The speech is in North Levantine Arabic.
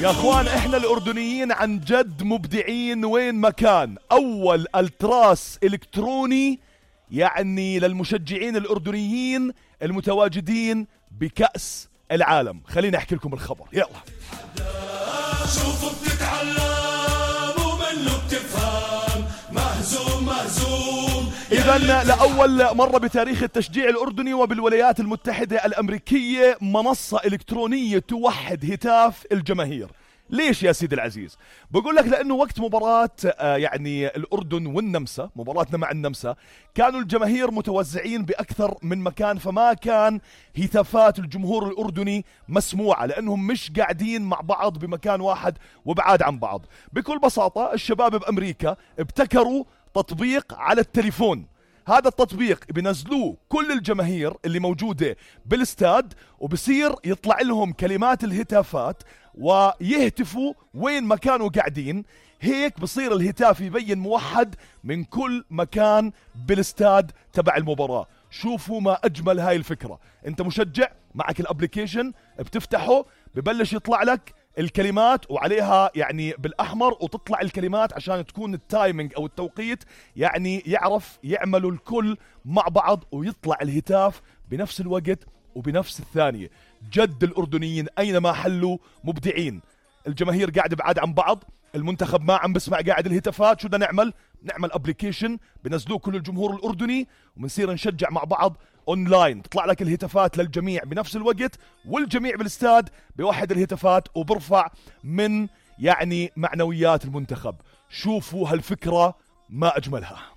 يا اخوان احنا الاردنيين عن جد مبدعين وين ما كان. اول التراس الكتروني يعني للمشجعين الاردنيين المتواجدين بكأس العالم. خليني احكي لكم الخبر، يلا. شوفوا بتتعلم ومنه بتفهم، مهزوم مهزوم. إذن لأول مرة بتاريخ التشجيع الأردني وبالولايات المتحدة الأمريكية منصة إلكترونية توحد هتاف الجماهير. ليش يا سيدي العزيز؟ بقول لك لأنه وقت مباراة يعني الأردن والنمسا، مباراتنا مع النمسا، كانوا الجماهير متوزعين بأكثر من مكان، فما كان هتافات الجمهور الأردني مسموعة لأنهم مش قاعدين مع بعض بمكان واحد وبعاد عن بعض. بكل بساطة الشباب بأمريكا ابتكروا تطبيق على التليفون. هذا التطبيق بينزلوه كل الجماهير اللي موجودة بالاستاد، وبصير يطلع لهم كلمات الهتافات ويهتفوا وين ما كانوا قاعدين. هيك بصير الهتاف يبين موحد من كل مكان بالاستاد تبع المباراة. شوفوا ما أجمل هاي الفكرة. انت مشجع معك الابليكيشن، بتفتحه ببلش يطلع لك الكلمات وعليها يعني بالأحمر، وتطلع الكلمات عشان تكون التايمينج أو التوقيت يعني يعرف يعملوا الكل مع بعض ويطلع الهتاف بنفس الوقت وبنفس الثانية. جد الأردنيين أينما حلوا مبدعين. الجماهير قاعدة بعاد عن بعض، المنتخب ما عم بسمع قاعد الهتافات. شو بدنا نعمل؟ نعمل ابليكيشن بنزلوه كل الجمهور الأردني وبنصير نشجع مع بعض اونلاين. تطلع لك الهتافات للجميع بنفس الوقت، والجميع بالاستاد بيوحد الهتافات وبرفع من يعني معنويات المنتخب. شوفوا هالفكرة ما أجملها.